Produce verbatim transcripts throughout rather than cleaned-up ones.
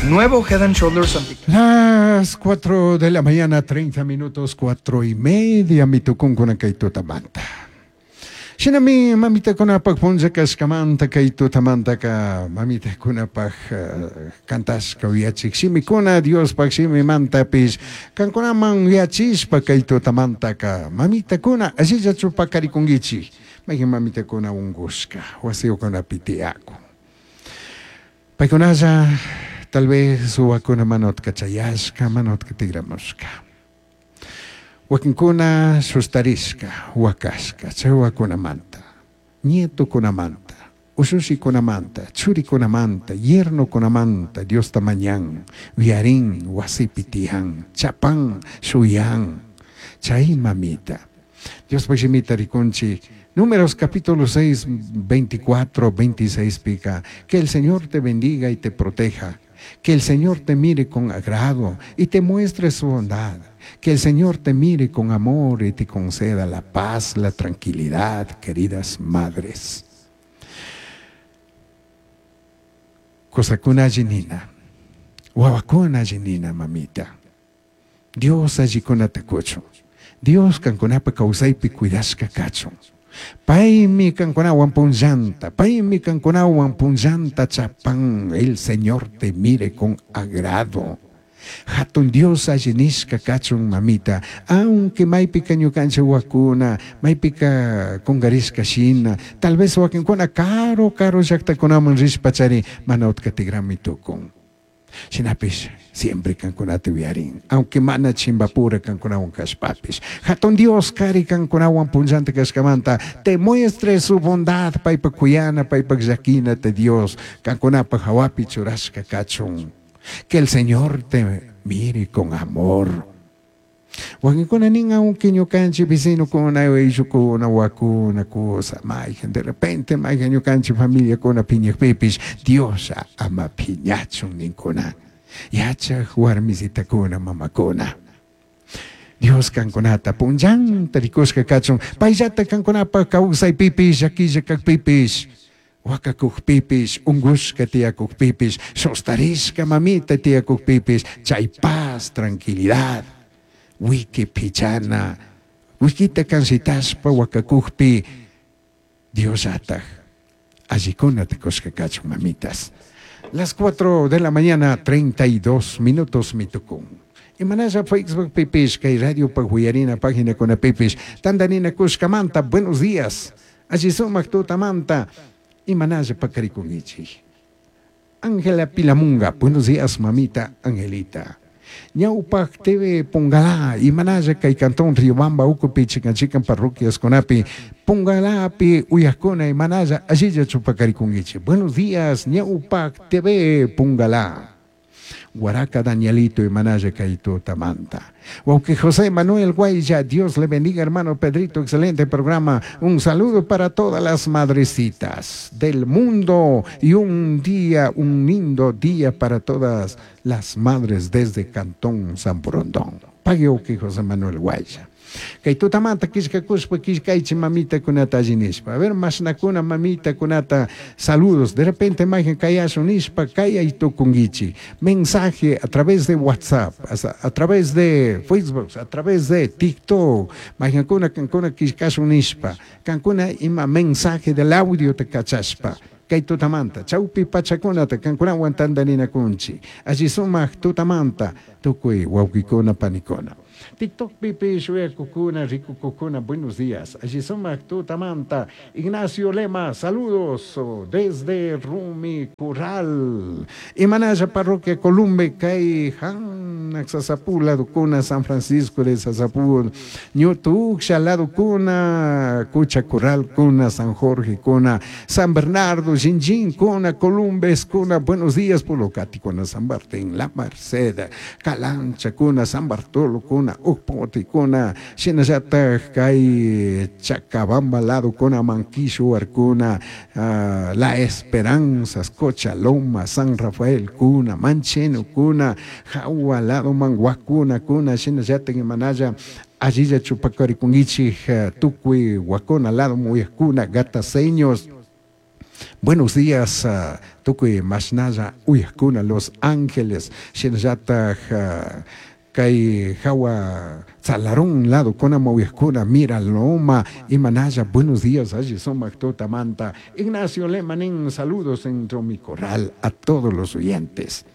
Nuevo Head and Shoulders anti Las cuatro de la mañana, treinta minutos, cuatro y media, mi tukunkuna kay tutamanta. Shinami mamitakunapaq punlla kashkamanta kay tutamantaka mamitakunapaq uh, kantashka uyachik shimikuna Diospaq shimimantapish kankunaman uyachishpa kay tutamantaka mamitakuna allillachu pakarikunkichik mayqin mamitakuna unqushka wasiyukunapi tiyakun. Paykunalla tal vez suwakuna mana utkachayashka mana utkatigramushka. Wakinkuna sustarishka, wakashka, chay wakunamanta, nietokunamanta, ushushikunamanta, churikunamanta, yernokunamanta, Diosta mañan, uyarin, wasipi tiyan, chapan, shuyan, chay mamita. Dios shimita rikunchik. Números capítulo seis, veinticuatro, veintiséis pica. Que el Señor te bendiga y te proteja. Que el Señor te mire con agrado y te muestre su bondad. Que el Señor te mire con amor y te conceda la paz, la tranquilidad, queridas madres. Kosakuna allinina, wawakuna allinina, mamita. Dios allikunata kuchun. Dios kankunapa kawsaypi cuidashka kachun. Paymi kankunawan punllanta, paymi kankunawan punllanta chapan. El Señor te mire con agrado. Hatun Dios allinishka kachun mamita, aunque maypika ñukanchik wakuna, maypika kungarishka shina, tal vez wakinkuna karu karu llaqtakunaman rishpachari mana utka tigrami tukun. Shinapish siempre kankunata uyarin, aunque mana chimbapura kankunawan kashpapish. Hatun Dios kari kankunawan punllanta kashkamanta, te muestre su bondad, paypa kuyana, paypa llakina te Dios, kankunapa hawapi churashka kachun. Que el Señor te mire con amor. Wakinkuna nin aunque ñukanchik vecinokuna, ayllukuna, wakuna, cosa, mayqin de repente mayqin ñukanchik familiakuna piñakpipish, Dios ama piñachun ninkuna. Yachaq warmisitakuna, mamakuna. Dios kankunata punllanta rikushka kachun, payllata kankunapa kawsaypipish, llakilla kaqpipish, wakakukpipish, ungushka tiyakukpipish, sostarishka mamita tiyakukpipish, chay paz, tranquilidad. Wiki pichana, wikita kansitashpa wakakukpi, Dios ataj, allikuna tikushka kachun mamitas. Las cuatro de la mañana, treinta y dos minutos mitukun. Imanasha Facebook pipish, kay radio paguyarina página con pipish, tandanina kushkamanta, buenos días. Allí sumak tutamanta, imanasha pakarikungichi. Ángela Pilamunga, buenos días mamita Angelita. Ñawpak T V Pungalá, imanalla kay cantón Riobamba, Ucupi, chican chican parroquias conapi, Pungalapi, Uyacona, imanalla, allilla chupacarikunguichi. Buenos días, Ñawpak T V Pungalá. Guaraca Danielito, imanalla kay tutamanta. Wauque José Manuel Guaya, Dios le bendiga, hermano Pedrito, excelente programa. Un saludo para todas las madrecitas del mundo y un día, un lindo día para todas las madres desde Cantón San Borondón. Pague Wauque José Manuel Guaya. Kay tutamanta kishka kushpa kishkaychi mamita kunata allinishpa. A ver, mashnakuna mamita kunata saludos. De repente mayqin kayashun nishpa kayay tukunkichi. Mensaje a través de WhatsApp, a, a través de Facebook, a través de TikTok. Mayqinkuna kankuna kishkashun nishpa. Kankuna ima mensaje del audio te kachashpa. Kay tutamanta, chawpi pachakunata kankunawan tantaninakunchi. Alli sumaq tutamanta tukuy wawqikuna panikuna. TikTok pipi shuyakukuna rikukukuna, buenos días. Allí sumaq tutamanta. Ignacio Lema, saludos desde Rumi Curral. Imanaya parroquia Columbe, kay Han, Sasapú, ladukuna, San Francisco de Sasapú, Ñutuksha, ladukuna, Cucha Curral, kuna, San Jorge, kuna, San Bernardo, Jinjin, kuna, Columbes, kuna, buenos días, Pulocati, kuna, San Martín, La Merced, Calancha, kuna, San Bartolo, kuna, Ukpoti, kuna, Shinayata, kay Chacabamba, lado, kuna, Manquishu, Arcuna, uh, La Esperanza, Cochaloma, San Rafael, kuna, Mancheno, kuna, Jaua, lado, Manguacuna, kuna, Shinayata, Manaya, Allilla, Chupacarikungichi, Tucui, Huacona, lado, Muyacuna, Gataseños, Buenos días, uh, tukuy mashnalla uyajkuna Los Ángeles, shinallataj uh, kay hawa Tzalarón lado kuna uyajkuna Miraloma, imanalla, buenos días, alli sumak tutamanta. Ignacio Lemanin, saludos en mi corral a todos los oyentes.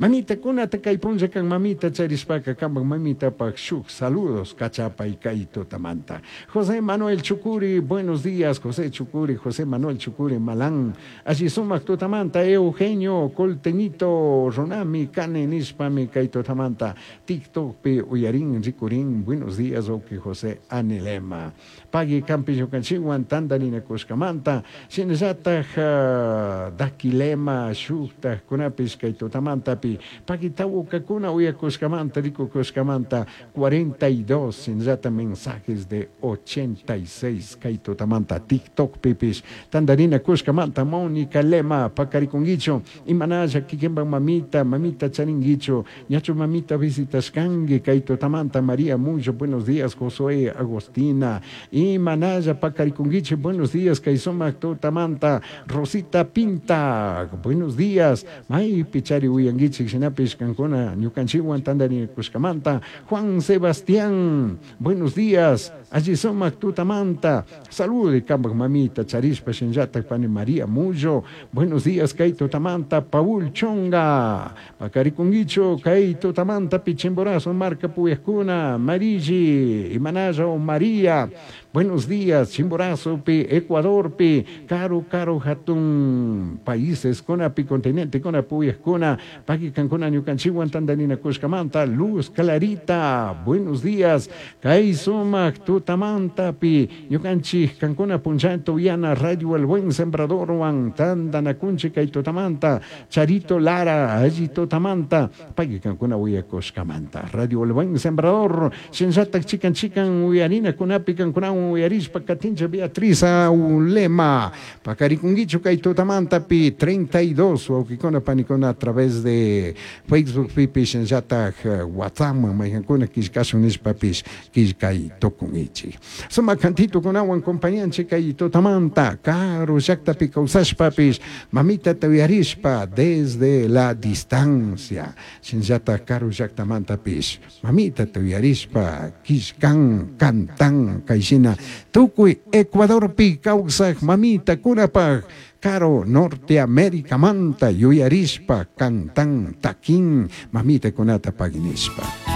Mamita kunata kay punlla kan mamita charishpaka kanpak mamitapak shuk saludos kachapay kay tutamanta. José Manuel Chucuri, buenos días, José Chucuri, José Manuel Chucuri Malán. Alli sumak tutamanta, Eugenio Coltenito Ronami kane nishpami kay tutamanta. TikTok pi uyarin rikurin, buenos días, oki José Anelema. Pagui kampi ñukanchikwan tantarinakushkamanta, shinallataj uh, Dakilema shuktajkunapish kay tutamantapi pagui tawkakuna uyakushkamanta rikukushkamanta cuarenta y dos shinallata mensajes de ochenta y seis kay tutamanta TikTok pipish tantarinakushkamanta. Mónica Lema pakarikunkichu imanalla kikinpak mamita mamita charinkichu ñachu mamita visitashkanki kay tutamanta. María Mucho, buenos días. Josué Agostina imanalla pakarikunkichu, buenos días kay sumak tutamanta. Rosita Pinta, buenos días. Maypi chari uyankichik shinapish kankuna ñukanchikwan tantarinakushkamanta. Juan Sebastián, buenos días. Alli sumak tutamanta. Saludos kampak mamita charishpa shinallatak pani María Mullo, buenos días kay tutamanta. Paul Chonga, pakarikunkichu kay tutamanta Pichimborazo marka puyajkuna. Marigi imanalla o María, buenos días. Chimborazo pi Ecuador pi karu karu hatun países kuna pi continente kuna puyajkuna pagui kankuna ñukanchikwan tantarinakushkamanta. Luz Clarita, buenos días kay sumak tutamanta pi ñukanchik kankuna punchanta uyana Radio El Buen Sembradorwan tantanakunchik kay tutamanta. Charito Lara alli tutamanta pagui kankuna uyakushkamanta. Radio El Buen Sembrador shinallatak chikan chikan uyarina kunapi kankuna uyarishpa katincha. Beatriz Aulema pakarikunkichu kay tutamanta pi treinta y dos wawkikuna panikuna a través de Facebook pipi shinallatak WhatsApp maykankuna killkashun nishpapish killkay tukunkichik. Sumak kantitukunawan compañanchik kay tutamanta karu llaktapi kawsashpapish mamitata uyarishpa desde la distancia shinallatak karu llaktamantapish mamitata uyarishpa killkan kantan kayshina tukuy Ecuadorpi kawsaj mamita kunapaj Caro Norteamérica manta yuyarishpa kantan takin mamita kunata paginishpa.